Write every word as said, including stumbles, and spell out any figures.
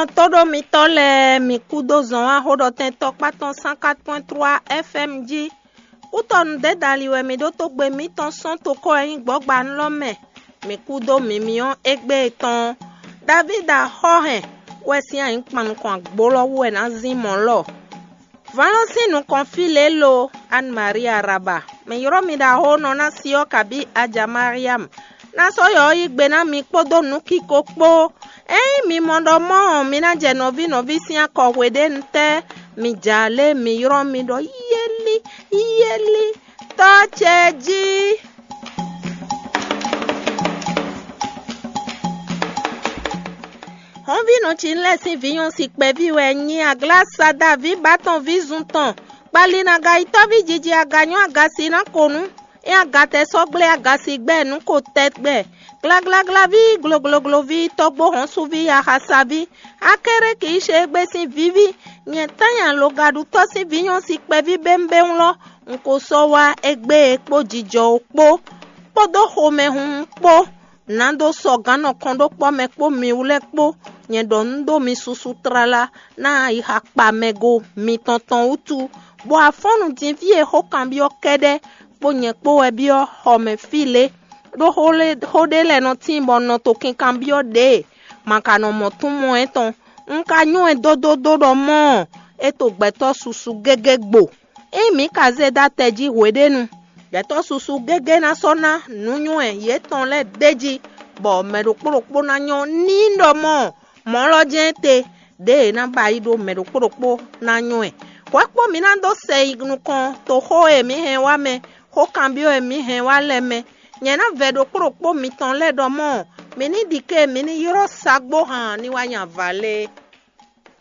Tóɖó mitɔ́ lɛ́ɛ, mi kú dó zɔn wá xóɖɔtɛn tɔkpá tɔn cent quatre point trois F M jí. Kútɔnu dédali wɛ mi ɖó tógbe mǐtɔn sɔ́n tokɔ e nyí gbɔ̌gbanú lɔ mɛ. Mi kú dó mǐmí ɔ́ égbé tɔn. Davída xɔ́hɛn wɛ sín ayǐkpan nukɔn agbo lɔ wú wɛ ná zín mɔ̌ lɔ. Vǎn lɔ sín nukɔn fí lě lo, Anne Marie Araba, mɛ ylɔ́ mi ɖaxó nɔ ná si ɔ́ kabí Aja Mariam, ná sɔ́ yɔ ɔ́ yí gbe ná mi kpódó nǔkiko kpó. Ényí mi mɔ ɖɔ mɔ́ ɔ́, mi ná jɛ nɔví nɔví sín akɔ hweɖénu tɛ́, mi jɛ alě mi ylɔ́ mi ɖɔ yéli yéli, Tɔ́ ce jí. Hɔnvínɔ Cinlɛ́ sín vǐ nyɔ́si kpɛví wɛ nyí Aglásada ví Batɔn ví zun tɔn. Kpali nagayitɔ́ví jiji aganyɔ́ agasi ná ko nú é agatɛ sɔ́ gblé agasi gbɛ́ nǔ ko tɛgbɛ. Glaglaglaví, gloglogloví, tɔ́gbó hɔnsuví, axasaví, Akɛ́rɛ́ kì í ṣe égbé sín víví. Nyɛ tánnya logaɖutɔ́ sín vǐ nyɔ́si kpɛví bémbéwún lɔ, un ko sɔ́ wá égbé e kpó jijɔ ó kpó, kpódó xomɛhunhun kpó. Nǎ dó sɔ gǎn nɔ kɔn ɖó kpɔ́ mɛ kpó mi wú lɛ́ɛ kpó. Nyɛ ɖɔ nǔ ɖó mi susu tlala ná ayixa kpa mɛ go mitɔn tɔn wútu, bɔ afɔ́nnu din fí e xó kanbyɔ́ kɛ́ɖɛ́ kpó nyɛ kpó wɛ byɔ́ xɔ mɛ fí lě. Ɖó xó ɖé lɛ́ɛ nɔ tíin bɔ nɔ to kinkanbyɔ́ ɖě e ma ka nɔ mɔ tún mɔ ɛ tɔn. Un ka nywɛ́ ɛ dódódó ɖɔ mɔ̌ ɔ́, é to gbɛtɔ́ susu gégé gbo. Ényí mǐ ka zé dó atɛ jí hweɖénu, gbɛtɔ́ susu gégé ná sɔ́ ná nǔnywɛ́ yětɔn lɛ́ɛ d'é jí, bɔ mɛ ɖokpó ɖokpó ná nyɔ́ ní ɖɔ mɔ̌ ɔ́, mɔ̌ lɔ jɛ́n te, ɖěe é ná ba yi ɖó mɛ ɖokpó ɖokpó ná nyɔ́ ɛ. Hwɛ kpó mi ná dó sɛ yi nukɔn toxó e mǐ hɛn wá mɛ, xó kanbyɔ́ e mǐ hɛn wá lɛ́ɛ mɛ. Nyɛ ná vɛ ɖokpó ɖokpó mitɔn lɛ́ɛ ɖɔ mɔ̌ ɔ́, mǐ ní ɖi ké mǐ ní ylɔ́ sagbó han ní wá nyi avǎ lé.